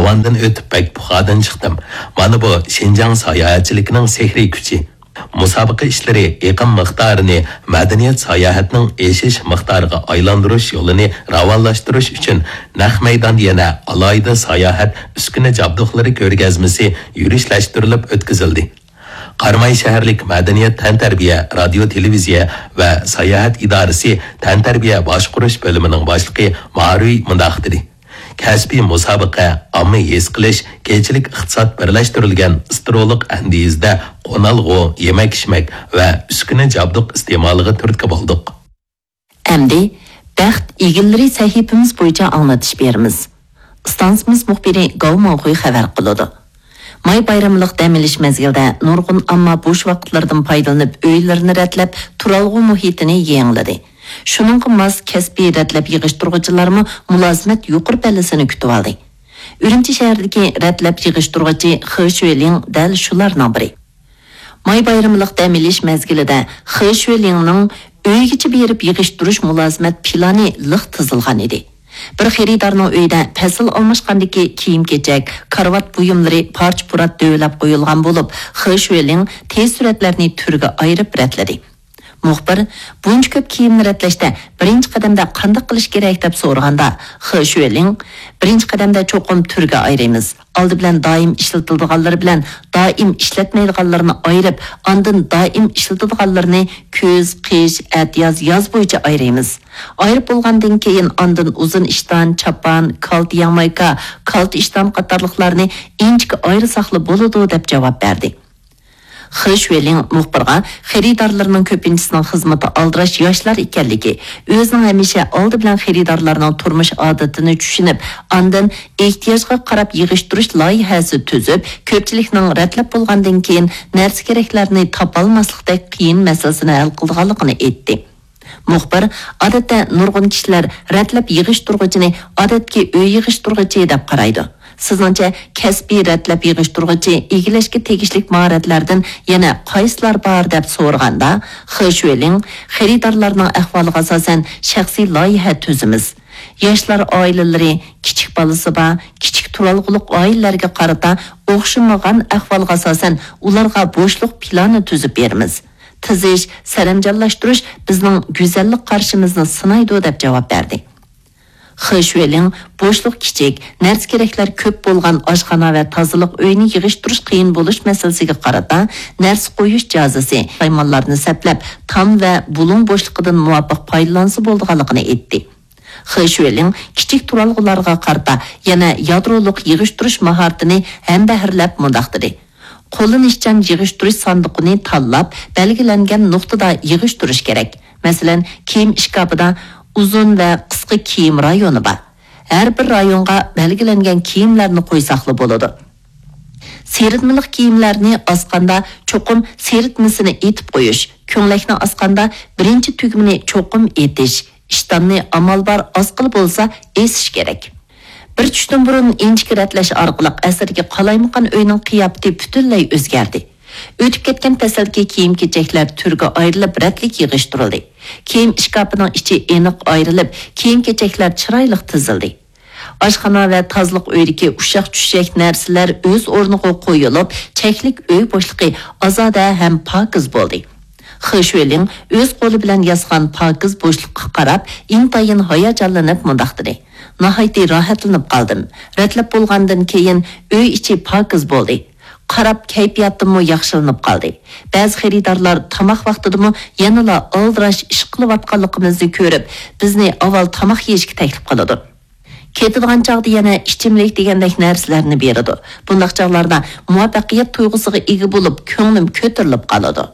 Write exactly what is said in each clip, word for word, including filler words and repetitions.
ئاندىن ئۆتۈپ بەك پۇخادىن چىقتىم. مانا بۇ شىنجاڭ ساياھەتچىلىكىنىڭ سېھرىي كۈچى. مۇسابىقە ئىشلىرى ئېقىم مىقدارىنى مەدەنىيەت ساياھەتنىڭ ئېشىش مىقدارىغا ئايلاندۇرۇش يولىنى راۋانلاشتۇرۇش ئۈچۈن نەق مەيداندا يەنە ئالاھىدە ساياھەت ئۈسكۈنە جابدۇقلىرى كۆرگەزمىسى يۈرۈشلەشتۈرۈلۈپ ئۆتكۈزۈلدى. قاراماي شەھەرلىك مەدەنىيەت تەنتەربىيە، رادىيو، تېلېۋىزىيە ۋە ساياھەت ئىدارىسى تەنتەربىيە باشقۇرۇش بۆلۈمىنىڭ باشلىقى مارۇي مۇنداق دېدى: كەسپىي مۇسابىقە ئاممىۋى ھېس قىلىش، كېچىلىك ئىقتىساد بىرلەشتۈرۈلگەن ئىسترولۇق ئەندىزىدە قونالغۇ، يېمەك-ئىچمەك ۋە ئۈسكۈنە جابدۇق ئىستېمالىغا تۈرتكە بولدۇق. ئەمدى بەخت ئىگىلىرى سەھىپىمىز بويىچە ئاڭلىتىش بېرىمىز. ئىستانسىمىز مۇخبىرى گاۋ ماڭخۇي خەۋەر قىلىدۇ. ماي بايرىملىق دەم ئېلىش مەزگىلىدە نۇرغۇن ئامما بوش ۋاقىتلىرىدىن پايدىلىنىپ، ئۆيلىرىنى رەتلەپ، تۇرالغۇ مۇھىتىنى يېڭىلىدى. شۇنىڭغا ماس كەسپىي رەتلەپ يىغىشتۇرغۇچىلارمۇ مۇلازىمەت يۇقىرى پەللىسىنى كۈتۈۋالدى. ئۈرۈمچى شەھىرىدىكى رەتلەپ يىغىشتۇرغۇچى خې شۈلىڭ دەل شۇلارنىڭ بىرى. ماي بايرىملىق دەم ئېلىش مەزگىلىدە خې شۈلىڭنىڭ ئۆيگىچە بېرىپ يىغىشتۇرۇش مۇلازىمەت پىلانى لىق تىزىلغان ئىدى. بىر خېرىدارنىڭ ئۆيىدە پەسىل ئالماشقاندىكى كىيىم-كېچەك، كارىۋات بۇيۇملىرى پارچە-پۇرات دۆۋىلەپ قويۇلغان بولۇپ، خې شۈلىڭ تېز سۈرەتلەرنى تۈرگە ئايرىپ رەتلىدى. مۇخبىر بۇنچە كۆپ كىيىمنى رەتلەشتە بىرىنچى قەدەمدە قانداق قىلىش كېرەك دەپ سورىغاندا، خې شۈلىڭ بىرىنچى قەدەمدە چوقۇم تۈرگە ئايرىيمىز. ئالدى بىلەن دائىم ئىشلىتىلىدىغانلىرى بىلەن دائىم ئىشلەتمەيدىغانلىرىنى ئايرىپ، ئاندىن دائىم ئىشلىتىدىغانلىرىنى كۈز، قىش، ئەتىياز، ياز بويىچە ئايرىيمىز. ئايرىپ بولغاندىن كېيىن ئاندىن ئۇزۇن ئىشتان، چاپان، كالتە ياڭمايكا، كالتە ئىشتان قاتارلىقلارنى ئىنچىكە ئايرىساقلا بولىدۇ، دەپ جاۋاب بەردى. خې شۈلىڭ مۇخبىرغا خېرىدارلىرىنىڭ كۆپىنچىسىنىڭ خىزمىتى ئالدىراش ياشلار ئىكەنلىكى، ئۆزىنىڭ ھەمىشە ئالدى بىلەن خېرىدارلارنىڭ تۇرمۇش ئادىتىنى چۈشىنىپ، ئاندىن ئېھتىياجغا قاراپ يىغىشتۇرۇش لايىھەسى تۈزۈپ، كۆپچىلىكنىڭ رەتلەپ بولغاندىن كېيىن نەرسە-كېرەكلەرنى تاپالماسلىقتەك قىيىن مەسىلىسىنى ھەل قىلىدىغانلىقىنى ئېيتتى. مۇخبىر، ئادەتتە نۇرغۇن كىشىلەر رەتلەپ يىغىشتۇرغۇچىنى ئادەتتىكى ئۆي يىغىشتۇرغۇچى دەپ قارايدۇ. سىزنىڭچە، كەسپىي رەتلەپ يىغىشتۇرغۇچى ئىگىلەشكە تېگىشلىك ماھارەتلەردىن يەنە قايسىلار بار دەپ سورىغاندا، خې شۈلىڭ خېرىدارلارنىڭ ئەھۋالىغا ئاساسەن شەخسىي لايىھە تۈزىمىز. ياشلار ئائىلىلىرى، كىچىك بالىسى بار، كىچىك تۇرالغۇلۇق ئائىلىلەرگە قارىتا ئوخشىمىغان ئەھۋالغا ئاساسەن ئۇلارغا بوشلۇق پىلانى تۈزۈپ بېرىمىز. تىزىش، سەرەمجانلاشتۇرۇش بىزنىڭ گۈزەللىك قارىشىمىزنى سىنايدۇ، دەپ جاۋاب بەردى. خې شۈلىڭ بوشلۇق كىچىك، نەرسە-كېرەكلەر كۆپ بولغان ئاشخانا ۋە تازىلىق ئۆيىنى يىغىشتۇرۇش قىيىن بولۇش مەسىلىسىگە قارىتا، نەرسە قويۇش جازىسى، سايمانلارنى سەپلەپ، تام ۋە بۇلۇڭ بوشلۇقىدىن مۇۋاپىق پايدىلانسا بولىدىغانلىقىنى ئېيتتى. خې شۈلىڭ كىچىك تۇرالغۇلارغا قارىتا يەنە يادرولۇق يىغىشتۇرۇش ماھارىتىنى ھەمبەھىرلەپ مۇنداق دېدى: قوللىنىشچان يىغىشتۇرۇش ساندۇقىنى تاللاپ، بەلگىلەنگەن نۇقتىدا يىغىشتۇرۇش كېرەك. مەسىلەن، كىيىم ئىشكاپىدا ئۇزۇن ۋە قىسقا كىيىم رايونى بار. ھەر بىر رايونغا بەلگىلەنگەن كىيىملەرنى قويساقلا بولىدۇ. سىرىتمىلىق كىيىملەرنى ئاسقاندا چوقۇم سىرىتمىسىنى ئېتىپ قويۇش، كۆڭلەكنى ئاسقاندا بىرىنچى تۈگمىنى چوقۇم ئېتىش، ئىشتاننى ئامال بار ئاسقىلى بولسا ئېسىش كېرەك. بىر چۈشتىن بۇرۇن ئىنچىكە رەتلەش ئارقىلىق ئەسەرگە قالايمىقان ئۆينىڭ قىياپىتى پۈتۈنلەي ئۆزگەردى. ئۆتۈپ كەتكەن پەسىلدىكى كىيىم-كېچەكلەر تۈرگە ئايرىلىپ، رەتلىك يىغىشتۇرۇلدى. كىيىم ئىشكاپىنىڭ ئىچى ئېنىق ئايرىلىپ، كىيىم-كېچەكلەر چىرايلىق تىزىلدى. ئاشخانا ۋە تازىلىق ئۆيىدىكى ئۇششاق-چۈششەك نەرسىلەر ئۆز ئورنىغا قويۇلۇپ، چەكلىك ئۆي بوشلۇقى ئازادە ھەم پاكىز بولدى. خې شۈلىڭ ئۆز قولى بىلەن ياسىغان پاكىز بوشلۇققا قاراپ، ئىنتايىن ھاياجانلىنىپ مۇنداق دېدى: ناھايىتى راھەتلىنىپ قالدىم. رەتلەپ بولغاندىن كېيىن ئۆي ئىچى پاكىز بولدى. قاراپ كەيپىياتىممۇ ياخشىلىنىپ قالدى. بەزى خېرىدارلار تاماق ۋاقتىدىمۇ يەنىلا ئالدىراش ئىش قىلىۋاتقانلىقىمىزنى كۆرۈپ، بىزنى ئاۋۋال تاماق يېيىشكە تەكلىپ قىلىدۇ. كېتىدىغان چاغدا يەنە ئىچىملىك دېگەندەك نەرسىلەرنى بېرىدۇ. بۇنداق چاغلاردا مۇۋەپپەقىيەت تۇيغۇسىغا ئىگە بولۇپ، كۆڭلۈم كۆتۈرۈلۈپ قالىدۇ.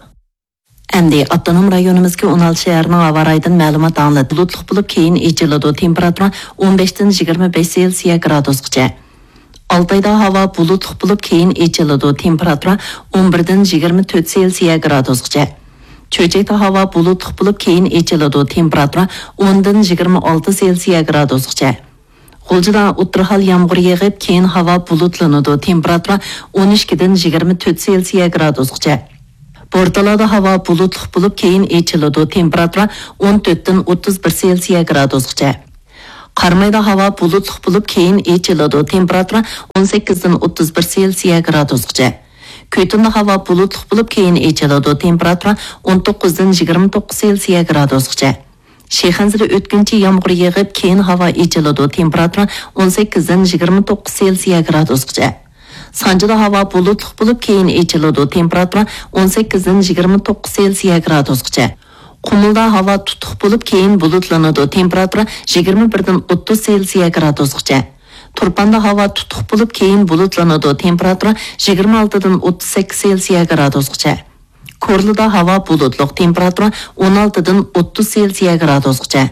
ئەمدى ئاپتونوم رايونىمىزدىكى ئون ئالتە شەھەرنىڭ ھاۋا رايىدىن مەلۇمات ئاڭلىدۇق. بۇلۇتلۇق بولۇپ، كېيىن ئېچىلىدۇ. تېمپېراتۇرا ئون بەشتىن يىگىرمە بەش سېلسىيە گرادۇسقىچە. ئالتايدا ھاۋا بۇلۇتلۇق بولۇپ، كېيىن ئېچىلىدۇ. تېمپېراتۇرا ئون بىردىن يىگىرمە تۆت سېلسىيە گرادۇسقىچە. چۆچەكتە ھاۋا بۇلۇتلۇق بولۇپ، كېيىن ئېچىلىدۇ. تېمپېراتۇرا ئوندىن يىگىرمە ئالتە سېلسىيە گرادۇسقىچە. غۇلجىدا ئوتتۇرا ھال يامغۇر يېغىپ، كېيىن ھاۋا بۇلۇتلىنىدۇ. تېمپېراتۇرا ئون ئىككىدىن يىگىرمە تۆت سېلسىيە گرادۇسقىچە. بورتالادا ھاۋا بۇلۇتلۇق بولۇپ، كېيىن ئېچىلىدۇ. تېمپېراتۇرا ئون تۆتتىن ئوتتۇز بىر سېلسىيە گرادۇسقىچە. قارامايدا ھاۋا بۇلۇتلۇق بولۇپ، كېيىن ئېچىلىدۇ، تېمپېراتۇرا ئون سەككىزدىن ئوتتۇز بىر سېلسىيە گرادۇسقىچە. كۈيتۇندا ھاۋا بۇلۇتلۇق بولۇپ، كېيىن ئېچىلىدۇ، تېمپېراتۇرا ئون توققۇزدىن يىگىرمە توققۇز سېلسىيە گرادۇسقىچە. شىخەنزىدە ئۆتكۈنچى يامغۇر يېغىپ، كېيىن ھاۋا ئېچىلىدۇ، تېمپېراتۇرا ئون سەككىزدىن يىگىرمە توققۇز سېلسىيە گرادۇسقىچە. سانجىدا ھاۋا بۇلۇتلۇق بولۇپ، كېيىن ئېچىلىدۇ، تېمپېراتۇرا ئون سەككىزدىن يىگىرمە توققۇز سېلسىيە گرادۇسقىچە. قۇمۇلدا ھاۋا تۇتۇق بولۇپ، كېيىن بۇلۇتلىنىدۇ، تېمپېراتۇرا يىگىرمە بىردىن ئوتتۇز سېلسىيە گرادۇسقىچە. تۇرپاندا ھاۋا تۇتۇق بولۇپ، كېيىن بۇلۇتلىنىدۇ، تېمپېراتۇرا يىگىرمە ئالتىدىن ئوتتۇز سەككىز سېلسىيە گرادۇسقىچە. كورلىدا ھاۋا بۇلۇتلۇق، تېمپېراتۇرا ئون ئالتىدىن ئوتتۇز سېلسىيە گرادۇسقىچە.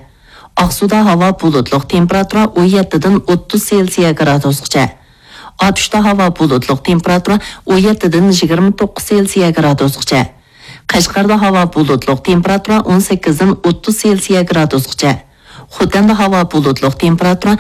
ئاقسۇدا ھاۋا بۇلۇتلۇق، تېمپېراتۇرا ئون يەتتىدىن ئوتتۇز سېلسىيە گرادۇسقىچە. ئاتۇشتا ھاۋا بۇلۇتلۇق، تېمپېراتۇرا ئون يەتتىدىن يىگىرمە توققۇز سېلسىيە گرادۇسقىچە. قەشقەردە ھاۋا بۇلۇتلۇق، تېمپېراتۇرا ئون سەككىزدىن ئوتتۇز سېلسىيە گرادۇسقىچە. خوتەندە ھاۋا بۇلۇتلۇق، تېمپېراتۇرا